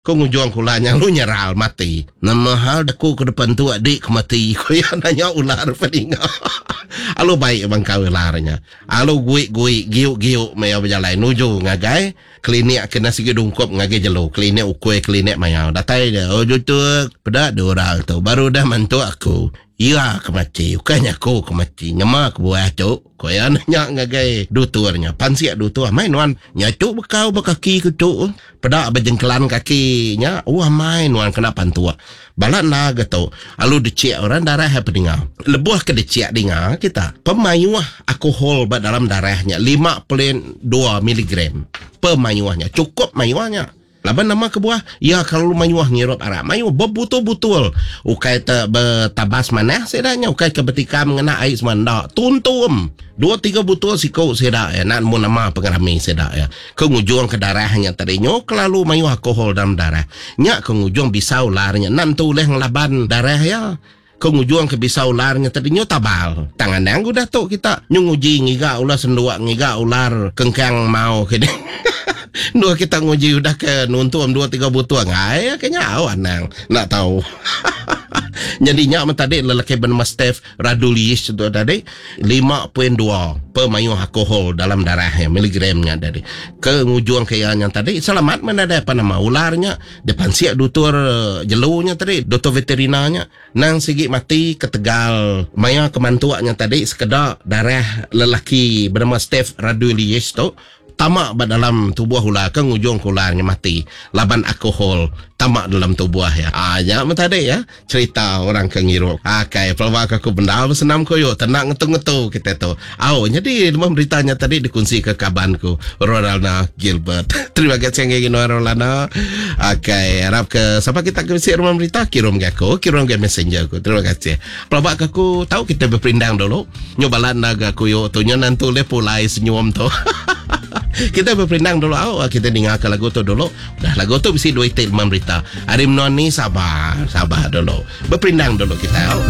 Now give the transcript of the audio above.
Ko ngujung ke ular nya lalu nyeral mati. Nama hal deku ke depan tu adik ke mati ko iya nanya ular peninga. Alu baik bangkau ular nya. Alu guik-guik giuk-giuk meh iya bejalai nuju ngagai klinik ke enda sigi dungkup ngagai jelu klinik ukui klinik mayau. Datai dia oh jutuk peda deh orang tu baru udah mantu aku. Iya ke mati, ukai nya aku ke mati. Nyema kebuah tu, ku iya nanya ngagai dutur nya. Pansik dutur, amai nuan nya tu bekau ba kaki ku tu. Peda ba jengkelan kaki nya, oh amai nuan kena pantuk. Bala enda ga tu, alu dechik orang darah iya pedinga. Lebuh ke dechik dinga kita, pemayuh alkohol ba dalam darah nya 52 miligram. Pemayuh nya, chukup mayuh nya. Laban nama kebuah iya kelalu mayuh ngirup arak mayuh bebutul-butul ukai te betabas manah sida nya ukai ke betikam ngena ai semua enda tuntum dua tiga butul siku sida iya enda nemu nama pengerami sida iya ke ngujung ke darah nya tadi nyu kelalu mayuh alkohol dalam darah nya ke ngujung bisa ular nya enda nentu ulih ngelaban darah iya. Ke ngujung ke bisa ular nya tadi nyu tabal. Tang anang udah tu kita nyu nguji ngiga ular senduk ngiga ular kengkang mau ke deh. Endur kita nguji udah ke nuntum dua tiga butung ai ke nya au anang enda tau. Nyadi nya men tadi lelaki benama Steph Radulish tu tadi 5.2 pemayuh alkohol dalam darah iya miligram nya tadi. Ke ngujung ke iya nya tadi selamat men nadai apa nama ular nya. Dipansik dutur jelu nya tadi, dutur veterina nya nang sigi mati ketegal maya ke mantuk nya tadi sekeda darah lelaki benama Steph Radulius tu tama ba dalam tubuh ular ke ngujungka ular nya mati laban alkohol tama dalam tubuh iya. Aa nya meh tadi ya cherita orang ke ngirup. Akai pelaba ke aku bendar besenam koyo tenda ngetu-ngetu kitai tu. Au nyadi lebuh berita nya tadi dikunsika kaban ku Rolana Gilbert. Terima kasih ngagai nuan Rolana. Akai arap ke sapa kita ke bisi rumah berita kirum ga aku, kirum ga messenger aku. Terima kasih. Pelaba ke aku tau kita beperindang dulu. Nyu bala enda ga kuyu tu nyu nentu ulih pulai senyum tu. kita beperindang dulu au kita ninga ke lagu tu dulu. Dah lagu tu bisi dua iti rumah berita. Ari menua ni sabar, sabar dulu. Beperindang dulu kita au.